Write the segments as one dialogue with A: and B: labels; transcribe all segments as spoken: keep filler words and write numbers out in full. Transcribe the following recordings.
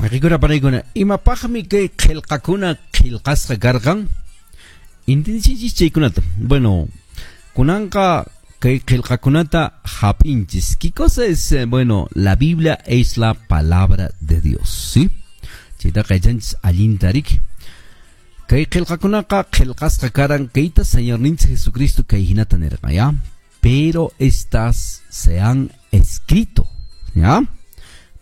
A: Wayqikuna panaykuna, imapaqmi kay qillqakuna qillqasqa karqan? Intendichinchis chaykunata. Bueno, kunanqa kay qillqakunata hap'inchis. ¿Qué cosa es? Bueno, la Biblia es la palabra de Dios, ¿sí? Chaytaqa yachanchis allinta riki. Kay qillqakunaqa qillqasqa karan kayta Señorninchik Jesucristo kay hinata nirqan, ¿ya? Pero estas se han escrito, ¿ya?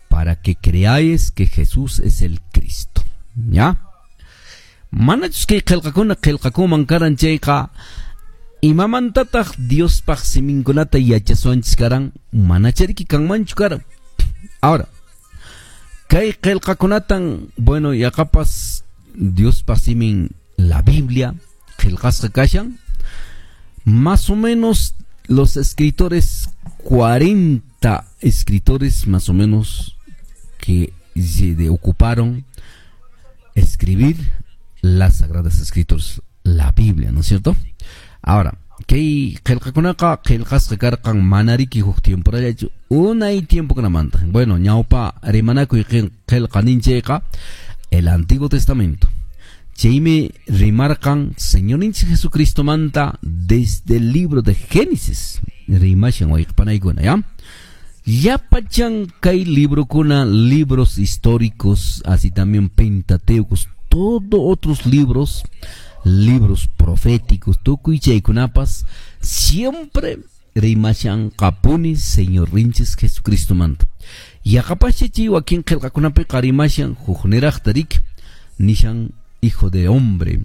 A: Para que creáis que Jesús es el Cristo, ¿ya? Manachus kay qillqakuna qillqakuman karan chayqa imamantataq Diospaq siminkunata yachasuanchis karan manachariki kanmanchu karan. Ahora, kay qillqakunatan, bueno, yaqapas Diospaq simin la Biblia qillqasqa kashan, más o menos los escritores, cuarenta escritores más o menos que se ocuparon escribir las Sagradas Escrituras, la Biblia, ¿no es cierto? Ahora, kay qillqakunaqa qillqasqa karqan manariki huk tiemporallachu unay tiempokunamanta. Bueno, ñawpa rimanakuy qillqa ninchayqa el Antiguo Testamento. Chaymi rimarqan Señorninchik Jesucristo manta desde el libro de Génesis. Rimashan wayqipanaykuna, ¿ya? Llapachan kay librokuna, libros históricos, así también pentateucos, todo otros libros, libros proféticos, tukuy chaykunapas, siempre rimashan qapuni Señorninchik Jesucristo manta. Yaqapacha chay wakin qillqakunapiqa rimashan hukniraqta riki, nishan hijo de hombre.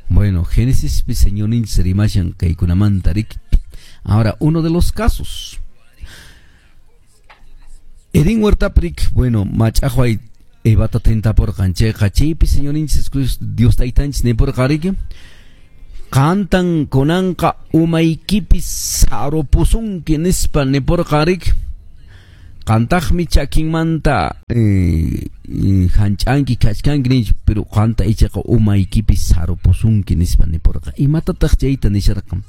A: Bueno, Génesis Señorninchik rimashan kaykunamanta riki. Ahora, uno de los casos. Edén huertaprik, bueno, mach'aqway Evata tentapurqan chayqa chaypi Señorninchik Dios taytanchis nipurqa riki, qantan kunanqa umaykipi sarupusunki nispa nipurqa riki, qantaqmi chakinmanta eh, hanch'anki kachkanki ninchik, pero qanta ichaqa umaykipi sarupusunki nispa nipurqa. Imatataq chayta nisharqan?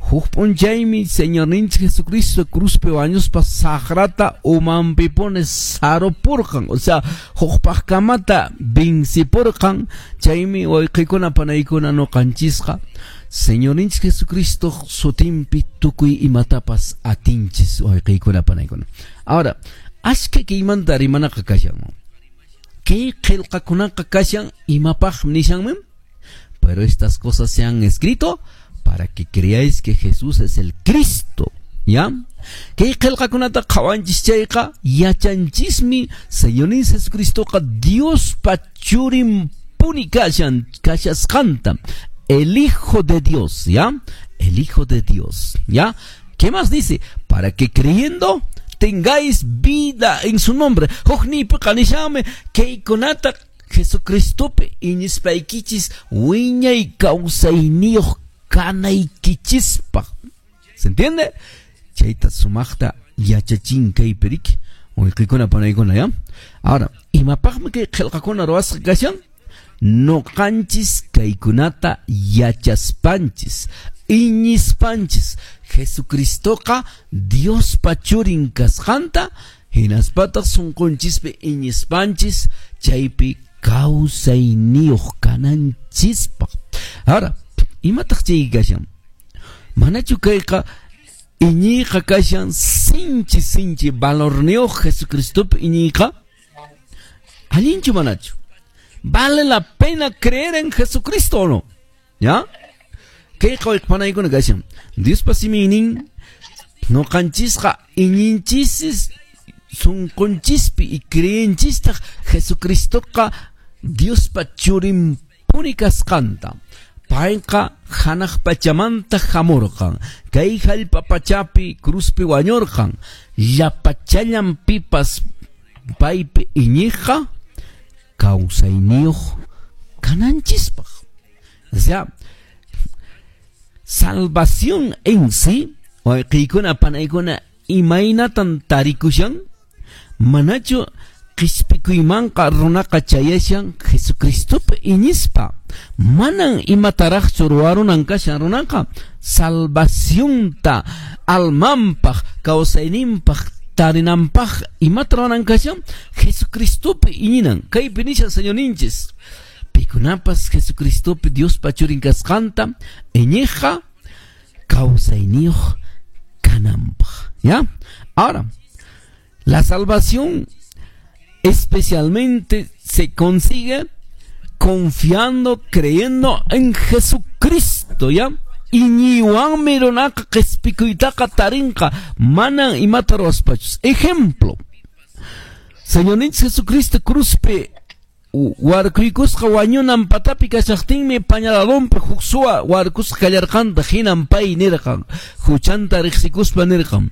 A: Huk p'unchaymi Señorninchik Jesucristo cruzpi wañuspa saqrata umanpipuni sarupurqan, o sea, hukpaqkamata vencipurqan. Chaymi wayqikuna panaykuna nuqanchisqa Señorninchik Jesucristo sutinpi tukuy imatapas atinchis wayqikuna panaykuna. Ahora, ashka kaymanta rimanaqa kashan. Kay qillqakunaqa kashan imapaqmi nishanmi? Pero estas cosas se han escrito para que creáis que Jesús es el Cristo, ¿ya? Kay qillqakunata qhawanchis chayqa yachanchismi Señorninchik Jesucristoqa Diospa churinpuni kashan kashasqanta, el Hijo de Dios, ¿ya? El Hijo de Dios, ¿ya? ¿Qué más dice? Para que creyendo tengáis vida en su nombre. Hukniypiqa nishanmi kaykunata Jesucristopi iñispaykichis wiñay kawsayniyuq kanaykichispaq. ¿Se entiende? Chayta sumaqta yachachin kaypi riki. Wayqikuna panaykuna, ¿ya? Ahora, imapaqmi kay qillqakuna ruwasqa kashan? Nuqanchis kaykunata yachaspanchis, iñispanchis Jesucristoqa Diospa churin kasqanta, hinaspataq sunqunchispi iñispanchis chaypi kawsayniyuq kananchispaq. Ahora, imataq chay kashan? Manachu kayqa iñiyqa kashan sinchi sinchi valorniyuq Jesucristopi iñiyqa? Allinchu manachu? ¿Vale la pena creer en Jesucristo o no? ¿Ya? Kayqa wayqipanaykuna kashan. Diospa siminin nuqanchisqa iñinchisis sunqunchispi y creenchistaq Jesucristoqa Diospa churinpuni kasqanta. Payqa hanaq pachamanta hamurqan. Kay hallp'a pachapi cruzpi wañurqan. Llapachallan pipas paypi iñiqqa kawsayniyuq kananchispaq. O sea, salvación en sí, wayqiykuna panaykuna imaynatan tarikushan? Manachu qhispikuymanqa runaqa chayashan Jesucristopi iñispa? Manan imataraqchu ruwarunan kashan runaqa salvacionta almanpaq kawsayninpaq tarinanpaq imata ruwanan kashan? Jesucristopi iñinan. Kaypi nishan Señorninchis, pikunapas Jesucristopi Diospa churin kasqanta iñiqqa kawsayniyuq kananpaq. ¿Ya? Ahora, la salvación especialmente se consigue confiando, creyendo en Jesucristo, ¿ya? Iñiywanmi runaqa qhispikuytaqa tarinqa, manan imata ruwaspachus. Ejemplo, Señorninchik Jesucristo cruzpi warkuykusqa wañunan patapi kashaqtinmi pañaladonpi huk suwa warkusqa kallarqanta, hinan pay nirqan, huchanta riqsikuspa nirqan,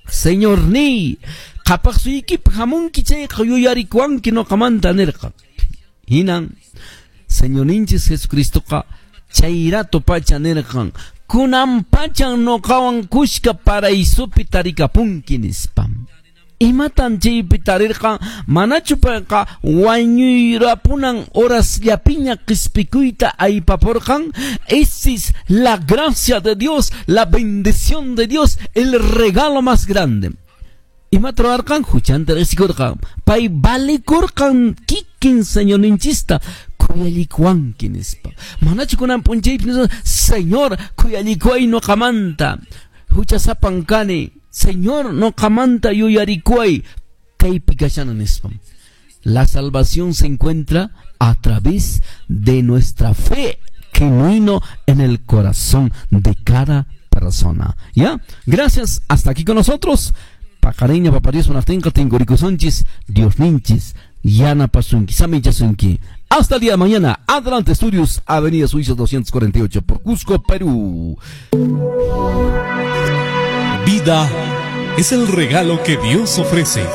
A: Señorniy, qhapaq suyuykipi hamunki chayqa yuyarikuwanki nuqamanta nirqan. Hinan Señorninchik Jesucristoqa chay rato pacha nirqan, kunan pachan nuqawan kushka paraísopi tarikapunki nispa. Imatan chaypi tarirqan? Manachu payqa wañuyrapunan horasllapiña qispikuyta aypapurqan? Esa es la gracia de Dios, la bendición de Dios, el regalo más grande. Imata ruwarqan? Huchanta riqsikurqan. Pay valikurqan kikin Señorninchista khuyallikuwanki nispa. Manachu kunan p'unchaypi nispa, Señor, khuyallikuway nuqamanta, huchasapan kani, Señor, nuqamanta yuyarikuway, kaypi kashana nispa. La salvación se encuentra a través de nuestra fe genuino en el corazón de cada persona. ¿Ya? Gracias, hasta aquí con nosotros. Paqarinña Papá Dios munaqtinqa tinkurikusunchis, Diosninchis yanapasunki, saminchasunki. Hasta el día de mañana. Adelante Estudios, Avenida Suiza doscientos cuarenta y ocho, por Cusco, Perú.
B: Vida es el regalo que Dios ofrece.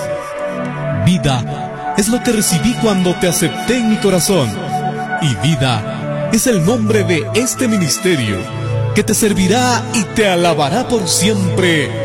B: Vida es lo que recibí cuando te acepté en mi corazón. Y vida es el nombre de este ministerio que te servirá y te alabará por siempre.